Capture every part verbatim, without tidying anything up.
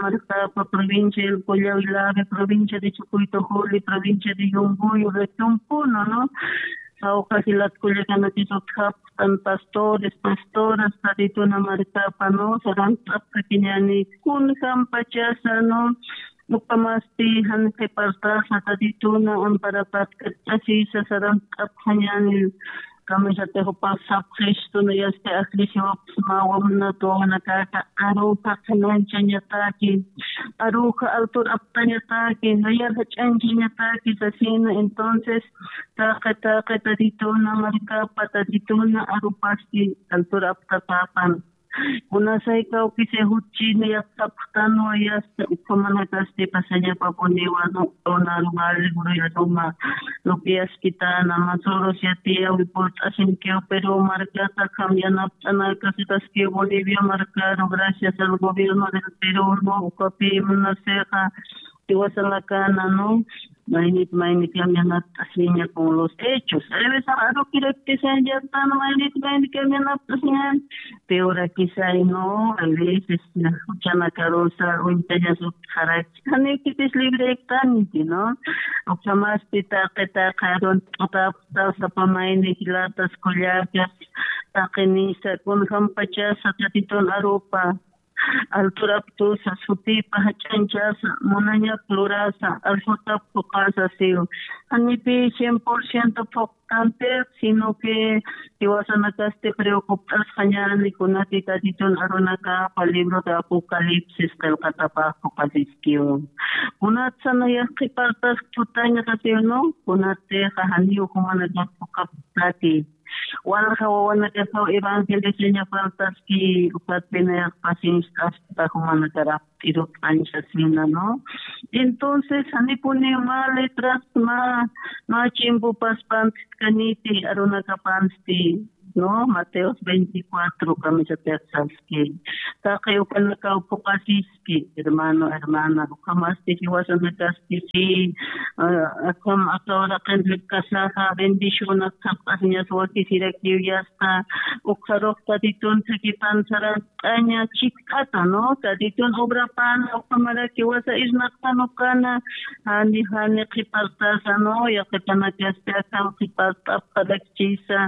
Marcapa, provincia del Collao Ilave, provincia de Chucuito Juli, provincia de Yunguyu, región Puno, ¿no? Jawja jilat kullakanakis utjapxtan pastores, pastoras, Tatituna markapa, ¿no? Sarant'apxakiñäni kunjampachasa, ¿no? Ukhamasti jan qhipartasa Tatituna amparapat kat'asisa sarant'apxañäni. Kamisatix jupax sapxistuna yasti ajllisiwapxsma wawanat wawanakaka aruxa qhanañchañataki, aruxa altur aptañataki, nayar jach'añchañataki sasina. Entonces taqi taqi Tatituna markapa Tatituna arupasti altur aptapapan. Kunasay kawkisay jutchini yaqtapxtanwa yasta ukhamanakasti pasañapapuniwa, ¿no? Donar vale juruyaruma, lupiaskitana masuros yatiyawi purt'asinkiw Perú markata, akham yanapt'anakasitaskiw Bolivia markaru, gracias al gobierno del Perú, ¿no? Ukapi munasixa tiwasanakana, ¿no? Maynit maynit cambianapt'asiña con los hechos. Hay veces arukiraktisan yastan maynit maynit cambianapt'asiñan. Peorakisay, ¿no? Hay veces juchanakarusa uñtañas utjaraki. Janikitis librektanti, ¿no? Ukhamasti taqi taqi arun t'utapxta sapa mayni jilatas kullakas, taqinisa kunjampachasa Tatitun arupa altur aptusa sutipa jach'añchasa munañap lurasa alsutap phuqasa siw. Janipi cien por ciento phuqtantiq, sino que tiwasanakasti preocupt'asxañäni kunati Tatitun arunakapa libro de Apocalipsis qillqatapax phuqasiskiw. Kunatsa nayar qhipartas tutañxa siw, ¿no? Kunatixa janiw jumanakat phuqapxtati. Walja wawanakasaw evangeliosaña faltaski, ukatpinayaq pacienciaskta jumanakaraq t'irut anchasina, ¿no? Entonces janipuni mä letras mä, mä chimpupas pantkaniti arunakapansti, ¿no? Mateos veinticuatro kamisatix saski. Taqi ukanakaw phuqasis hermano, hermana, ukhamasti jiwasanakasti si, ah, akham aka uraqin rikkasaxa bendicionak sapxasiñas wakisirakiw yasta, ukxarux Tatitun thakipan sarant'aña chikxata, ¿no? Tatitun obrapan ukhamaraki wasa irnaqtan ukana, jani jani qhipartasa, ¿no? Yaqhipanakasti akham qhipart'apxarak chisa,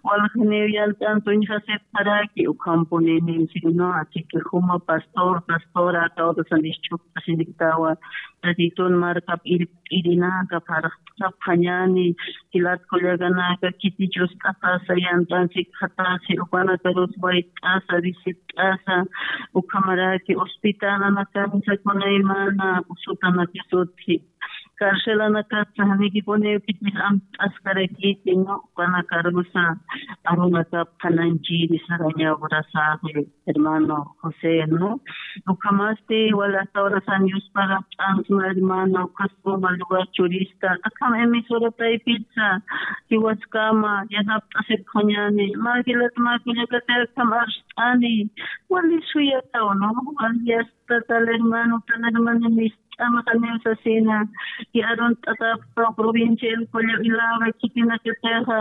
waljaniw yant'an tuñjasipxaraki, ukhampunini, sino así que juma pastor, pastora, aka urasan ischhukta siniktawa, Tatitun markap irp'irinaka pharxt'apxañäni, jilat kullakanaka khiti chust'apasa, yant'an sikxatasi, ukanakarus wayt'asa, visit'asa, ukhamaraki hospitalanakansa kunaymana, usutanakis utji. Carcelanakatsa janikipuniw khitis amt'askarakiti, ¿no? Ukanakarusa arunakap qhanañchiri sarañaw urasaxi, hermano José, ¿no? Ukhamasti wali aka urasan Diospaga p'ansma, hermano, ukhas suma lugar churista, akham emisora taypitsa jiwaskama yanapt'asipxañäni, mä jilat mä kullakatix akham arst'ani, wali suyataw, ¿no? Wali yasta tal hermano, tal hermana, mis t'amaqaniw sasina, y arunt'atapxtaw provincia El Collao Ilave khitinakatixa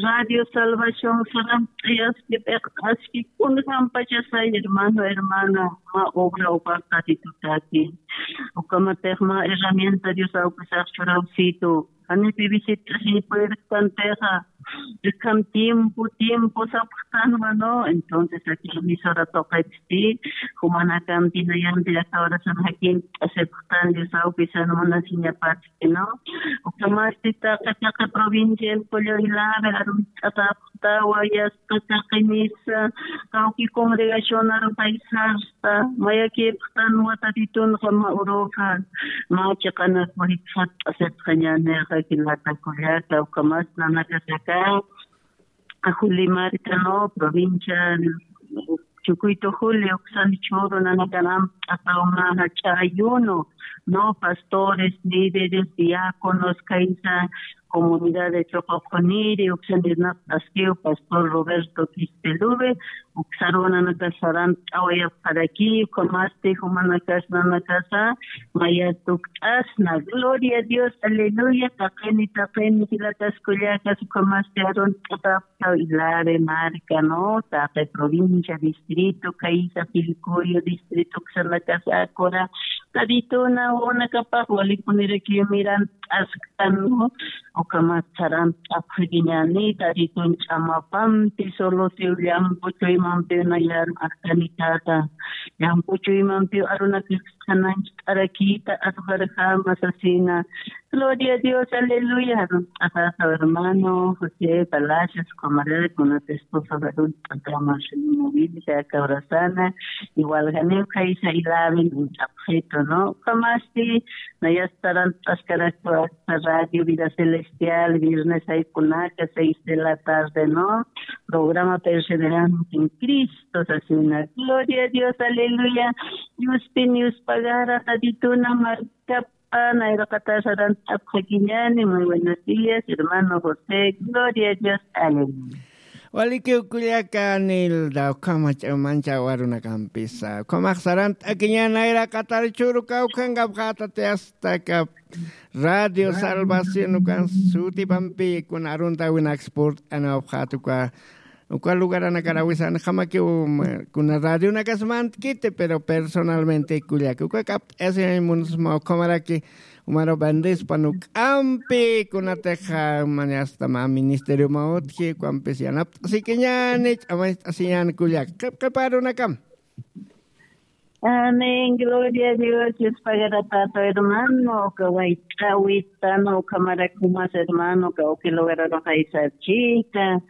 Radio Salvación saramt'ayaski, p'iqt'aski, kunjampachasay hermano, hermana, mä obra ukax Tatitutaki. Ukhamatix mä herramienta Dios awkisax churawsitu. Janipi visit'asiñ puertantixa, akham tiempo, tiempo sapxtanwa, ¿no? Entonces, aquí emisora tuqitsti, jumanakampi nayanti aka urasan jakint'asipxtan Dios awkisan munasiñapatki, ¿no? Ukhamasti taqi taqi provincia El Collao Ilave arunt'atapxtawa, yasta taqi misa, kawki congregación arupaysar, mayakipxtanwa Tatitunxa mä uruxa, mä chiqanak wayt'asipxañänixa jilata kullaka, ukhamas nanakasaka, Juli marka, ¿no? Provincia Chucuito Juli, uksan chhuru nanakan amt'ataw mä jach'a ayuno, no, pastores, líderes, diáconos, kaysa comunidad de Choqoqoniri, uksan irnaqt'askiw pastor Roberto Quispeluve, uksarunanaka sarant'awayapxaraki, ukhamasti jumanakas nanakasa, maya tukt'asna. Gloria a Dios, aleluya, taqini, taqini, jilatas kullakas, ukhamasti arunt'atap Ilave marca, ¿no? Taqi provincia, distrito, kaysa, Pilcoyo, distrito, uksanakasa, kura, Tadituna, unakapax, walipunirakiw mirant'asktan, ¿no? Ukhamat sarant'apxakiñäni, Taditun ch'amapampi, solo siw llampu chuymampiw nayar, arkanikata, llampu chuymampiw arunakix qhanancht'arakita, arujarjama sasina, Gloria a Dios, aleluya. Arunt'axaxa hermano José Palacios, ukhamaraki kunata esposa arunt'axama, móvil, aka abrazana, igual janiw kaysa ilaven uñt'apxitu, ¿no? Ukhamasti, nayas sarant'askaraktu aka Radio Vida Celestial, viernes jaykunaka, seis de la tarde, ¿no? Programa Perseverando en Cristo, sasina. Gloria a Dios, aleluya. Diospi, Dios pagara, Tadituna, markap Nayraqatar sarant'apxakiñäni, muy buenos días, hermano José, gloria a Dios, aleluya. Walikiw kullaka Nilda, ukhama ch'amanchaw arunakampisa, ukhamax sarant'akiñäni nayraqatar churu kawkhankapxätati, hasta aka Radio Salvación ukan sutipampi, kuna aruntäwinak spurt'anawapxäta uka uka lugaranakar awisan, jamakiw, mm, kuna radionakas mantkiti, pero personalmente kullaka uka k'apt'asiñ munusma, ukhamaraki, umaru bendespan uk'ampi, kunatix, ah, mani hasta mä ministeriomaw utji, ukampis yanapt'asikiñäni, ch'amacht'asiñäni kullaka, qhip qhip arunakam. Amén, gloria a Dios, Dios pagarapata hermano, uka wayt'äwita, ¿no? Ukhamarak jumas hermano, uka uki lugararux aysarchita,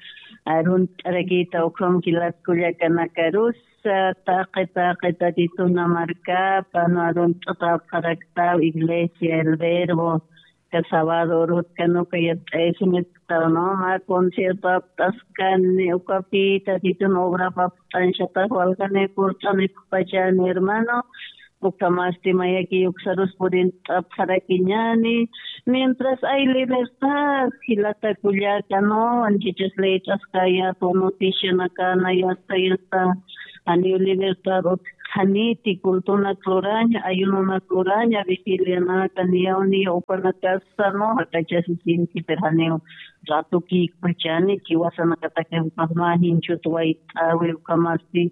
arunt'arakita, ukham jilat kullakanakarusa, taqi, taqi, Tatituna markapa, ¿no? Arunt'atäpxaraktaw, iglesia, el verbo, Aka sábado urutkan uka yat'ayasiñataktaw, ¿no? Mä concierto apt'askani, ukapï Tatitun obra apt'añchatax waljanï purt'anipxpachäni, hermano. Ukhamasti mayaki uksarus purint'apxarakiñäni. Mientras hay libertad, jilata kullaka, ¿no? Anchhichas leyt'askayätwa, noticianakana, yasta, yasta. Janiw libertad utjkhaniti, cultonak luraña, ayunonak luraña, vigilianaka, niyaw, niyaw upanakasa, ¿no? Jak'achasisinki, pero janiw ratukïkpachani, jiwasanakataki ukax mä jinchhut wayt'äwi, ukhamasti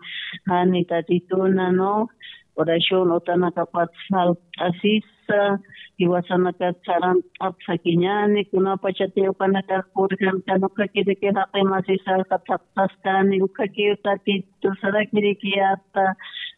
jani Tatituna, ¿no? Oración utanakapat falt'asisa, jiwasanakat sarant'apxakiñäni, kunapachati ukanakax purjankan, ukhakirakix jaqi masisaxa thaqtaskani, ukhakiw Tatitu sarakirikiyäta,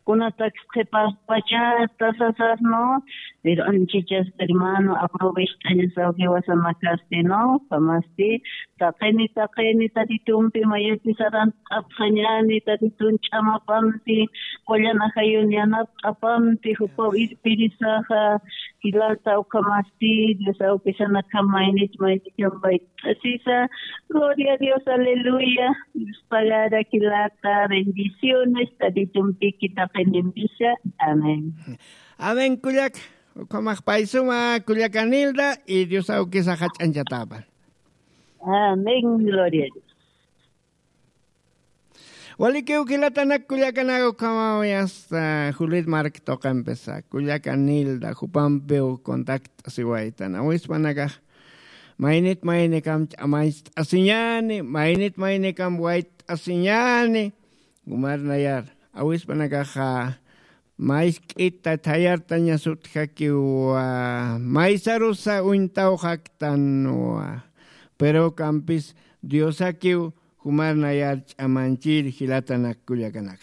kunatakis qhiparpachäta sasas, ¿no? Pero anchhichas hermano, aprovecht'añasaw jiwasanakasti, ¿no? Ukhamasti, taqini, taqini, Tatitumpi mayaki sarant'apxañäni, Tatitun ch'amapampi, qullan ajayun yanapt'apampi, jupaw irpirisaxa, jilata, ukhamasti, Dios awkisanakjam maynit, maynitkam wayt'asisa. Gloria a Dios, aleluya. Dios pagara jilata, bendiciones, Tatitumpiki taqinimpisa. Amén. Amén, kullak. Ukhamax pay suma, kullaka Nilda, y Dios awkisa jach'añchatäpan. Amén, gloria a Dios. Walikiw jilatanak kullakanak, ukhamawi hasta Juliet Mark tuqimpisa, kullaka Nilda, jupampiw contact'asiwaytan, awispanakax maynit maynikam ch'amacht'asiñäni, maynit maynikam wayt'asiñäni, jumar nayar, awispanakaxa, maysk'ita thayartañas utjakiwa, maysarusa uñtawxaktanwa, pero ukampis Diosakiw jumar nayar ch'amanchir jilatanak kullakanak.